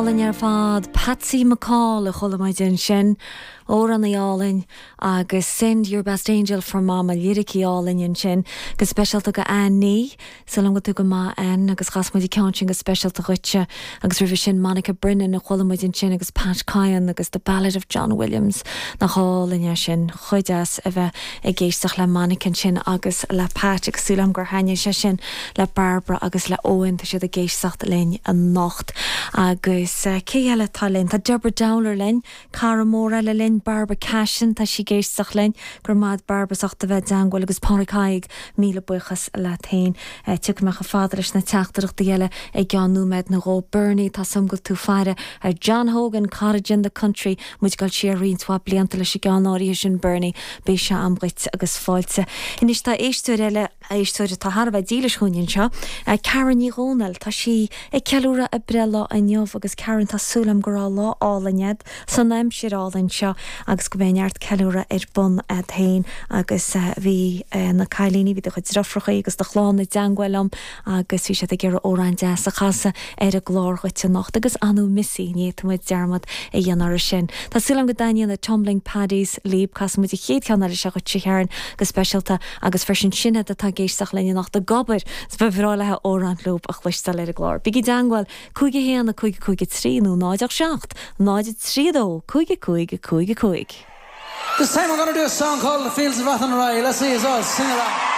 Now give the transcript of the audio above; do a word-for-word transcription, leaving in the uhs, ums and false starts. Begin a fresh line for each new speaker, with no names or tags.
álainn ar fad Patsy McCall a chuala muid ansin amhrán álainn agus send your best angel for mama liricí álainn ansin go speisialta go Annie Súil agam go tú go maith an agus chas muid ceann sin go speisialta dhuitse agus roimhe sin Monica Brennan a chuala muid ansin agus Pat Kyan agus the Ballad of John Williams nach álainn é sin chomh deas a bheith ag éisteacht le Monica ansin agus le Pat agus súil agam gur thaitin sé sin le Barbara agus le Owen tá siad ag éisteacht linn anocht agus uh, cé eile tá linn Tá Deborah Dowler linn cara mór eile linn Barbara Cashin tá sí ag éisteacht linn gur mad Barbara socht a bheith dangil agus Pácaig míle buíochas le tain Tuigmeach a fad leis na teachtaireachtaí eile ag ceann nóiméad nó dhó Bernie tá sumgal tú faire ar John Hogan Cottage in the Country muid gal si roinnt blianta leis an gceann sin Bernie beidh sé agam dhuit agus fáilte. Anois tá éisteoir eile éisteoir atá thar a bheith dílis dúinn seo, Karen Ní Dhomhnaill tá sí ag ceiliúradh a breithlá inniu agus Karen tá súil agam go raibh lá álainn agat san aimsir álainn seo agus go mbeidh neart ceiliúradh ar bun agat féin agus uh, bhí uh, na cailíní bhí do chuid deirfiúracha agus do chlann i dteagmháil liom agus bhí siad ag iarraidh amhrán deas a chasadh ar an gclár dhuit anocht agus anú missí ní muid dearmad a dhéanamh sin. Tá súil agam go dtaitníonn na Tumbling Paddies libh casfaidh muid an chéad cheann eile seo dhuit Karen go speisialta agus freisin sinne atá ag éisteacht linn anocht ag obair 's ba bhreá léi amhrán leo a chloisteáil ar an gclár. Bígí i dteagmháil cúig a haon a cúig cúig trí nó náid seacht, náid trí dó, cúig cúig cúig cúig.
This time we're going to do a song called The Fields of Athenry. Let's see us all sing along.